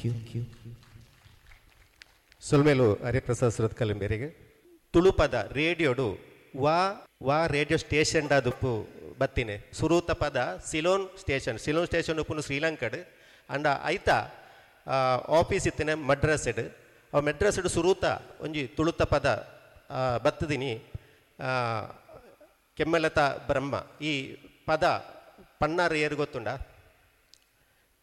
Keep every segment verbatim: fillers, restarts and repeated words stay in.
you. ಸೊಲ್ಮೆಲು ಹರಿಪ್ರಸಾದ್ ಸುರತ್ಕಲ್ ತುಳುಪದ ರೇಡಿಯೋಡು ವಾ ವಾ ರೇಡಿಯೋ ಸ್ಟೇಷನ್ ದುಪ್ಪು ಬತ್ತಿನೆ ಸುರೂತ ಪದ ಸಿಲೋನ್ ಸ್ಟೇಷನ್ ಸಿಲೋನ್ ಸ್ಟೇಷನ್ ಉಪ್ಪುನು ಶ್ರೀಲಂಕಡ್ ಅಂಡ ಐತ ಆಫೀಸ್ ಇತ್ತಿನ ಮಡ್ರಾಸ್ಡ್ ಆ ಮಡ್ರಾಸ್ಡ್ ಸುರೂತ ಒಂಜಿ ತುಳುತ ಪದ ಬತ್ತದಿನಿ ಕೆಮ್ಮಲತ ಬ್ರಹ್ಮ ಈ ಪದ ಪನ್ನಾರು ಏರು ಗೊತ್ತುಂಡ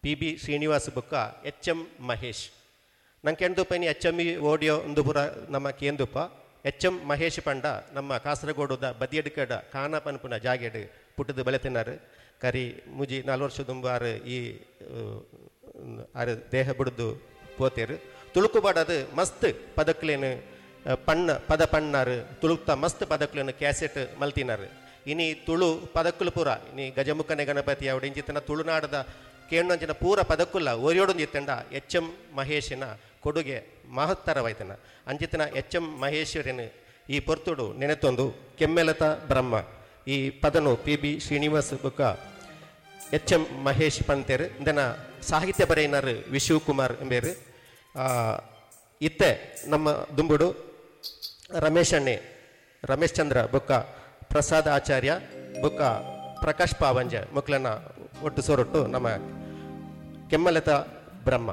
ಪಿ ಬಿ ಶ್ರೀನಿವಾಸ್ ಬುಕ್ಕ ಎಚ್ ಎಂ ಮಹೇಶ್ ನಂಗೆ ಕೆಂದುಪ್ಪನಿ ಎಚ್ ಎಂ ಇ ಓಡಿಯೋ ಒಂದು ಪುರ ನಮ್ಮ ಕೇಂದುಪ್ಪ ಎಚ್ ಎಂ ಮಹೇಶ್ ಪಂಡ ನಮ್ಮ ಕಾಸರಗೋಡುದ ಬದಿಯಡ್ಕಡ ಕಾನ ಪನ್ಪುನ ಜಾಗೆಡ್ ಪುಟ್ಟದು ಬಲೆತಿನಾರು ಕರಿ ಮುಜಿ ನಾಲ್ ವರ್ಷ ದುಂಬಾರು ಈ ಆರು ದೇಹ ಬಿಡುದು ಪೋತೇರು ತುಳುಕುಬಾಡದು ಮಸ್ತ್ ಪದಕ್ಲೇನು ಪಣ್ಣ ಪದ ಪಣ್ಣಾರು ತುಳುಕ್ತ ಮಸ್ತ್ ಪದಕ್ಲೇನು ಕ್ಯಾಸೆಟ್ ಮಲ್ತಿನಾರು ಇನಿ ತುಳು ಪದಕ್ಕುಲು ಪೂರ ಇನಿ ಗಜಮುಖನೆ ಗಣಪತಿ ಅವಡು ಇಂಚಿತನ ತುಳುನಾಡದ ಕೇಣ್ಣಂಚಿನ ಪೂರ ಪದಕ್ಕುಲ್ಲ ಒರಿಯೋಡೊಂದು ಎಚ್ ಎಂ ಮಹೇಶನ ಕೊಡುಗೆ ಮಹತ್ತರವಾಯ್ತನ ಅಂಚಿತನ ಎಚ್ ಎಂ ಮಹೇಶ್ವರನ ಈ ಪೊರ್ತುಡು ನೆನೆತೊಂದು ಕೆಮ್ಮೆಲತ ಬ್ರಹ್ಮ ಈ ಪದನು ಪಿ ಬಿ ಶ್ರೀನಿವಾಸ್ ಬುಕ್ಕ ಎಚ್ ಎಂ ಮಹೇಶ್ ಪಂತೇರು ಇಂದನ ಸಾಹಿತ್ಯ ಬರೆಯಿನಾರು ವಿಶುಕುಮಾರ್ ಎಂಬೇರು ಇತ್ತೆ ನಮ್ಮ ದುಂಬುಡು ರಮೇಶ್ ಅಣ್ಣೆ ರಮೇಶ್ ಚಂದ್ರ ಬುಕ್ಕ ಪ್ರಸಾದ್ ಆಚಾರ್ಯ ಬುಕ್ಕ ಪ್ರಕಾಶ್ ಪಾವಂಜ ಮಕ್ಕಳನ್ನ ಒಟ್ಟು ಸೊರೊಟ್ಟು ನಮ್ಮ ಕೆಮ್ಮಲತ ಬ್ರಹ್ಮ.